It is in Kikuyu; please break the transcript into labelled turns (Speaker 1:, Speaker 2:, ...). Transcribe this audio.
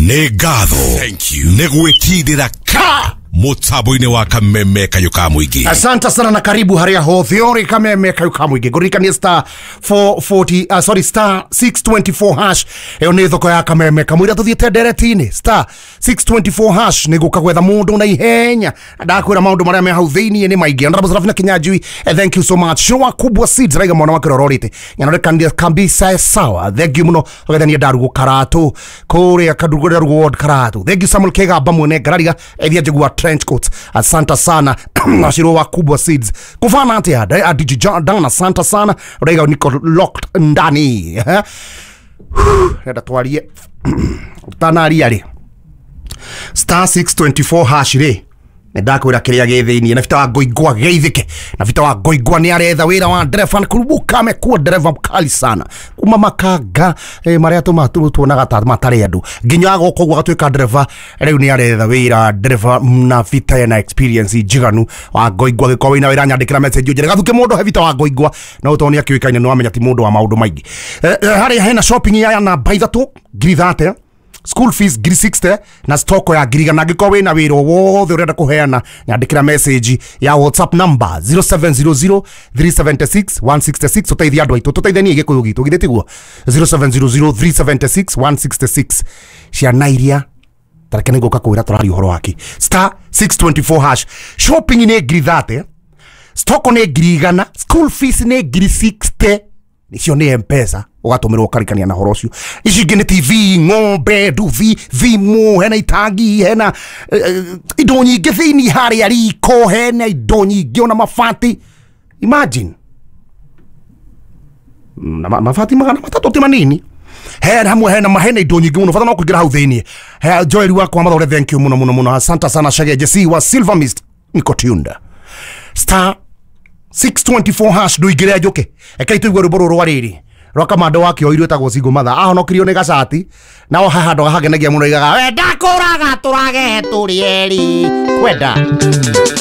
Speaker 1: Nĩ ngatho nĩ gwĩkindĩra ka mũtambo-inĩ wa Kameme Kayũ ka Mũingĩ.
Speaker 2: Asante sana na karibu haria hothe ori Kameme Kayũ ka Mũingĩ. Ngũririkanie star 440, sorry, star 624 hash. Ĩyo nĩ thoko ya Kameme kamũira tũthiĩte ndereti-inĩ. Star 624 hash nĩ gũka gwetha mũndũ na ihenya. Ndakwĩra maũndũ marĩa me hau thĩiniĩ nĩ maingĩ. Honorable Serafina Kinyanjui, thank you so much. Shua Kubwa Seeds raiga mwana wake rororite nyanore kabisa sawa. Thank you muno. Ũgethania ndarugo Karatu kũrĩa Kadugo Ndarugo Ward Karatu. Thank you Samuel Kegamba mwene Ngararia ethia njigua trench coat. Asante sana Nashiro wa Kubwa Seeds kufana atia DJ Dana, asante sana. Raiga niko locked ndani. Renda twarie utanaria rĩ star 624 hash rĩ nĩ ndakwĩra kĩrĩa gĩ thĩiniĩ na bita wa Ngoingwa geithĩke na bita wa Ngoingwa nĩ aretha wĩra wa ndereba kurubuka amekuwa ndereba mkali sana kuma makanga marĩa tuonaga ta matarĩ andũ nginya agoka ũguo agatuĩka ndereba. Rĩu nĩ aretha wĩra ndereba na bita ena experience njiganu wa Ngoingwa. Gĩkorwo wĩna wĩra nyandĩkĩra message ũnjĩre gathuke mũndũ he bita wa Ngoingwa no tondũ nĩ akĩũĩkaine nĩ wamenya ti mũndũ wa maũndũ maingĩ. Harĩa hena shopping ya namba ithatũ ngiri 30, school fees ngiri 60 na stoko ya ngiri igana. Angĩkorwo wĩna wĩra o wothe ũrenda kũheana nyandĩkĩra message ya WhatsApp number 0700 376 166. Tũteithie andũ aitũ, tũteithanie gĩkũyũ gitũ, githĩ tiguo? 0700 376 166. Ciana iria tareke nĩngũka kwĩra tũraria ũhoro wake. Star 624 hash, shopping nĩ ngiri 30, stoko nĩ ngiri igana, school fees nĩ ngiri 60. Icio nĩ M-Pesa ũgatũmĩrwo ũkarikania na horo ũcio. Ici ingĩ nĩ TV, ng'ombe, nduthi, thimũ, hena itangi, hena indo nyingĩ thĩinĩ harĩa riko, hena indo nyingĩ ona mabati. Imagine na mabati 300 ti manini. Hena hamwe hena hena indo nyingĩ mũno, bata no kũingĩra hau thĩinĩ. Joel wakwa Mathore, thank you muno muno muno, asante sana. Shage Jesse wa Silver Mist niko tunda. Star 624 hash ndũingĩre njũke. Rekei tũigue rwĩmbo rũrũ rwa rĩrĩ rwa kamando wa kĩoirwo ĩtagwo Single Mother. Ahonokirio nĩ gacati nao haha handũ hagenagia mũno igaga wenda kũraga tũrage tũrĩ erĩ kwenda.